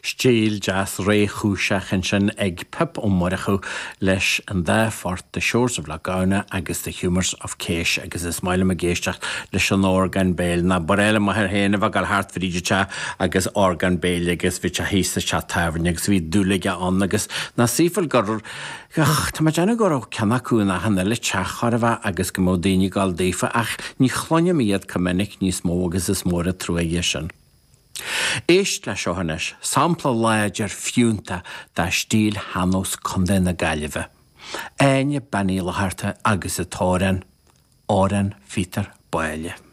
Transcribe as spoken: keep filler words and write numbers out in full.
Stíl deas réchúiseach ansin ag Pip Ó Murchú leis an dá phort The Shores of Lough Gowna agus The Humours of Kesh agus is maith liom ag éisteacht leis an orgán béil ná ba bhreá le m'athair féin a bheith ag dul thart fríd an teach agus orgán béil agus bhí sé thíos sa teach tábhairne agus bhí dúil aige ann agus ná saoifil gur Tá mé ag déanamh go raibh ceann acu in achan uile teach chóir a bheith agus go mbeadh daoine ag dul daofa ach ní chluinim iad chomh minic níos mó agus is mór an trua é sin. Éist le seo anois, sampla láidir fiúntach de stíl shean-nós Contae na Gaillimhe. Áine Bean Uí Fhlatharta agus an t-amhrán, Amhrán Phíotair Báille.